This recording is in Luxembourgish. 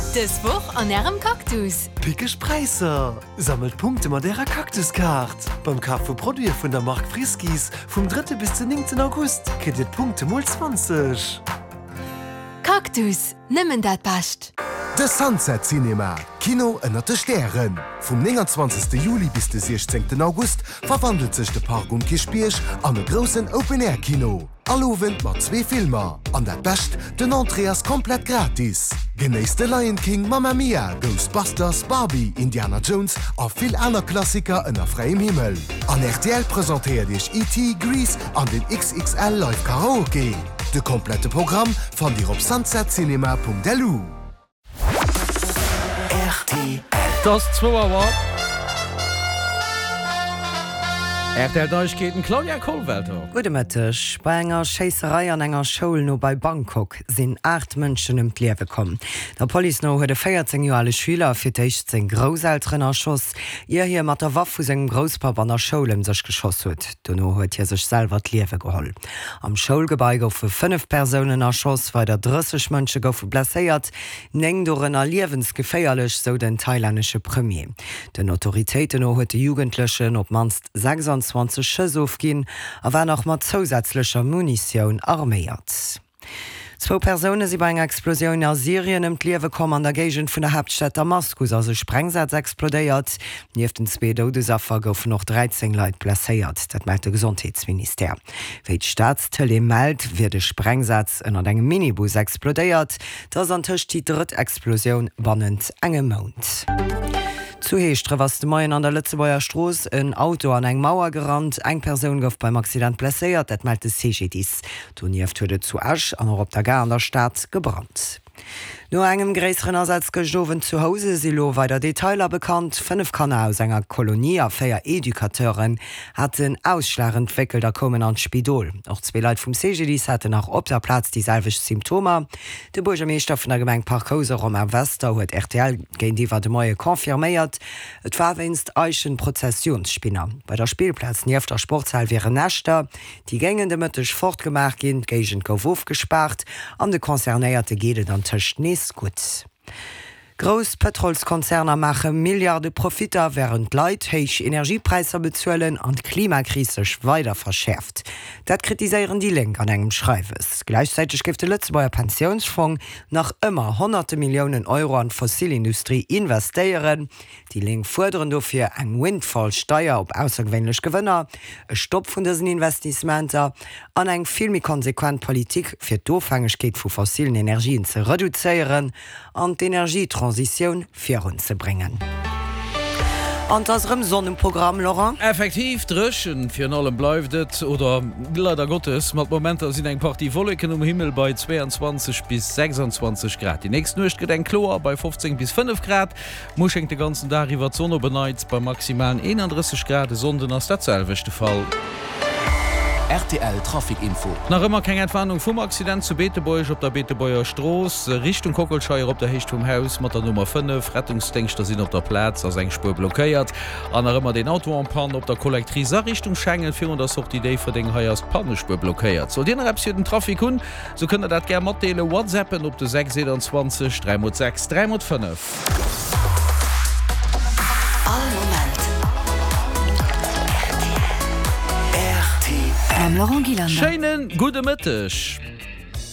Dës Woch an Ärem Cactus! Pickeg Präisser! Sammelt Punkte mat Ärer Cactus-Kaart! Beim Kaf vu Produite vun der Mark Friskies vum drëtte bis den néngten August kritt Dir d'Punkte mol 20. Cactus, nëmmen dat Bescht! De Sunset Cinema, Kino ënnert de Stären. Vum 29. Juli bis de 16. August verwandelt sech de Park um Kierchbierg an e groussen Open-Air-Kino. All Owend mat zwee Filmer. An dat Bescht, den Entrée ass komplett gratis! Genéisst de Lion King, Mamma Mia, Ghostbusters, Barbie, Indiana Jones a vill aner Klassiker ënner fräiem Himmel. An rtl presentéiert iech ET, Grease an den XXL Live Karaoke. De komplette Programm fannt dir op sunsetcinema.lu. Rtl. Et ass zwou Auer. Rtl Neiegkeeten, Claudia Kollwelter. Gudde Mëtteg. Bei enger Schéisserei an enger Schoul no bei Bangkok sinn 8 Mënschen ëm d'Liewe komm. Der Police no huet e 14 Joer ale Schüler fir d'éischt seng Grousselteren erschoss, ier hie mat der Waff vu sengem Grousspapp an der Schoul ëm sech geschoss huet. Dono huet hie sech selwer d'Liewe geholl. Am Schoulgebai goufe 5 Persounen erschoss, weider 30 Mënsche goufe blesséiert, 9 dorënner liewensgeféierlech, sou den thailännesche Premier. Den Autoritéiten no huet de Jugendlechen op d'mannst 26 Schëss ofginn a war nach mat zousätzlecher Munitioun arméiert. Zwou Persoune si bei enger Explosioun a Syrien ëm d'Liewe komm. An der Géigend vun der Haaptstad Damaskus ass e Sprengsaz explodéiert. Nieft den zwee Doudesaffer goufen och 13 Leit blesséiert, dat mellt de Gesondheetsministère. Wéi d'Staatstëlee mellt, wier de Sprengsaz ënnert engem Minibus explodéiert. Dat ass antëscht déi drëtt Explosioun bannent engem Mount. Zu Heeschdref ass de Moien an der Lëtzebuerger Strooss en Auto an eng Mauer gerannt. Eng Persoun gouf beim Accident blesséiert, dat mellt de CGDIS. Donieft huet et zu Esch an och op der Gare an der Stad gebrannt. No engem gréisseren Asaz gëscht Owend zu Housen si lo weider Detailer bekannt. 5 Kanner aus enger Kolonie a 4 Educateuren haten Ausschlag entwéckelt a koumen an d'Spidol. Och zwee Leit vum CGDIS haten nach op der Plaz déi selwecht Symptomer. De Buergermeeschter vun der Gemeng Parc Housen, Romain Wester, huet rtl géintiwwer de Moie confirméiert, et war wéinst Eichenprozessionsspinner. Bei der Spillplaz nieft der Sportshal wieren Näschter. Déi géingen de Mëtteg fortgemaach ginn, d'Géigend gouf ofgespaart an de Concernéierte geet et antëscht nees gutt. Grouss Pëtrolskonzerner maache Milliarde Profitter, wärend d'Leit héich Energiepräisser bezuelen an d'Klimakris sech weider verschäerft. Dat kritiséieren déi Lénk an engem Schreiwes. Gläichzäiteg géif de Lëtzebuerger Pensiounsfong nach ëmmer honnerte Milliounen Euro an d'Fossilindustrie investéieren. Déi Lénk fuerderen dofir eng Windfall-Steier op aussergewéinlech Gewënner, e Stopp vun dësen Investissementer an eng vill méi konsequent Politik, fir d'Ofhängegkeet vu fossilen Energien ze reduzéieren an d'Energietransitioun virunzebréngen. An 't ass erëm Sonn um Programm, Laurent. Effektiv, dréchen virun allem bleift et, oder leider Gottes, mat Momenter sinn eng Partie Wolleken um Himmel bei 22 bis 26 Grad. Déi nächst Nuecht gëtt eng kloer bei 15 bis 5 Grad. Muer schéngt de ganzen Dag iwwer d'Sonn op en Neits bei maximalen 31 Grad. E Sonnden ass dat selwecht de Fall. Rtl Trafic Info. Nach ëmmer keng Entwarnung vum Accident zu Beetebuerg op der Beetebuerger Strooss Richtung Kockelscheier op der Héicht vum Haus mat der Nummer 5. Rettungsdéngschter sinn op der Plaz, ass eng Spuer blockéiert. An nach ëmmer deen Auto en panne op der Collectrice a Richtung Schengen virun der Sortie Déifferdeng. Hei ass d'Pannespuer blockéiert. Sollt Dir nach eppes fir den Trafic hunn, Sou kënnt der dat gär matdeelen, WhatsAppen op de 6 21 3 mol 6 3 mol 5. All Moment rtl. Mam Laurent Gillander. Schéinen gudde Mëtteg.